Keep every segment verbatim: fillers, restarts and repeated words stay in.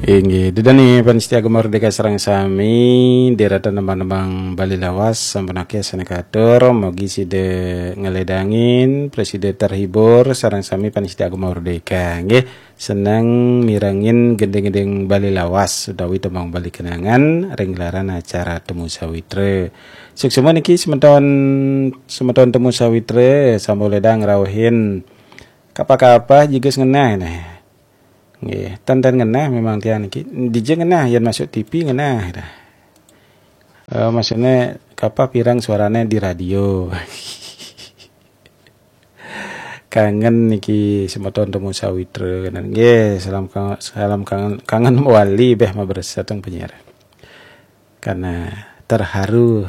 Inggih, ida dané pamiarsa Gema Merdeka sareng sami, dherekaning nembang-nembang Bali lawas sampun akéh sané katur, mugi sida ngledangin, prasida terhibur sareng sami pamiarsa Gema Merdeka. Nggih, seneng mirengin gending-gending Bali lawas utawi tembang Bali kenangan ring gelaran acara Temu Sawitra. Suksma niki semeton, semeton Temu Sawitra, sampun ledang ngrauhin kapah-kapah jigus ngenah nah. Nggih, ten-ten ngenah memang tiang niki. Dija ngenah, yén masuk T V ngenah dah. Eh, maksudnya kapah pirang suarane di radio. Kangen niki semeton Temu Sawitra. Nggih, salam kangen, salam kangen, kangen wali béh mabresep teng penyiar. Karena terharu.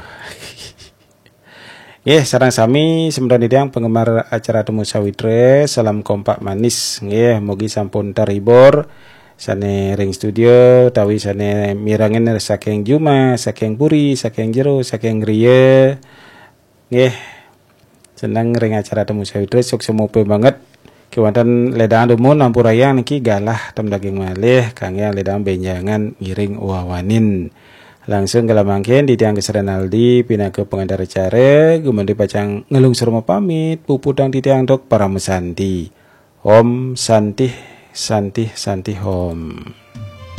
Nggih, sareng sami semeton titiang penggemar acara Temu Sawitra, salam kompak manis. Nggih, mugi sampun terhibur sané ring studio, utawi sané mirengin saking jumah, saking puri, saking jero, saking griya. Nggih, seneng ring acara Temu Sawitra, suksma banget. Kéwanten ledang dumun ampurayang niki galah ten daging malih, kanggé ledang bénjangan ngiring wawanin. Langsung kala mangkin titiang Gus Renaldi pinaka pengantar acara, gumanti pacang nglungsur pamit, puputang titiang antuk paramasanti. Om Santih, Santih, Santih Om.